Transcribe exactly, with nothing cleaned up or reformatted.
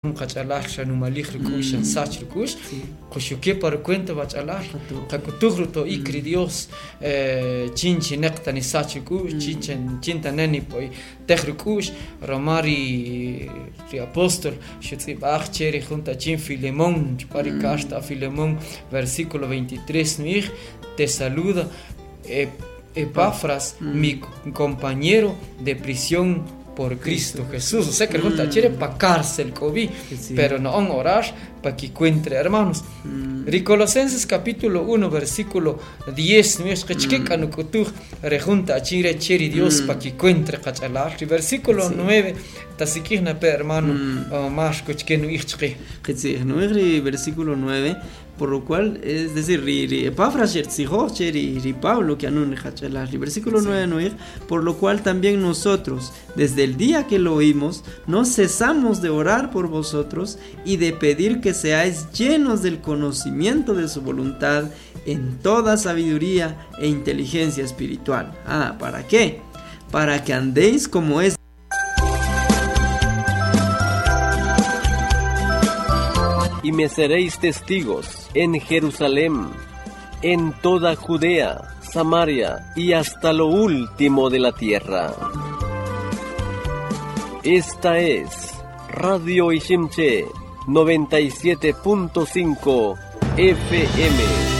Qach'alal xanumalij ruk'u'x xansach ruk'u'x quxuke pa rucuenta wach'alal qak'utuj ruto'ik ri Dios chin chineq ta nisach ruk'u'x chin chin ta ne nipoy tej ruk'u'x roma ri ri apóstol xutz'ib'aj che ri junta chin Filemón chupa ri carta a Filemón, versículo veintitrés, nu'ij: "Te saluda Epafras, mi compañero de prisión por Cristo Jesús". O sea que junta chere pa cárcel k'obi, pero no on orar pa que encuentre hermanos. Ri Colosenses capítulo uno versículo diez nu'ij qachke k'anuk'utuj re junta chin re che ri Dios pa que encuentre qach'alal. Ri versículo nueve tasik'ij na pe, hermano Marco, chke nu'ij chqe. Qitzij nu'ij ri versículo nueve: por lo cual, es decir, ri, ri Epafras xertzijo che ri, ri Pablo que anun ri. Ri versículo nueve nu'ij: "Por lo cual también nosotros, desde el día que lo oímos, no cesamos de orar por vosotros y de pedir que seáis llenos del conocimiento de su voluntad en toda sabiduría e inteligencia espiritual". Ah, ¿para qué? Para que andéis como es Y me seréis testigos en Jerusalén, en toda Judea, Samaria y hasta lo último de la tierra. Esta es Radio Iximché noventa y siete punto cinco F M.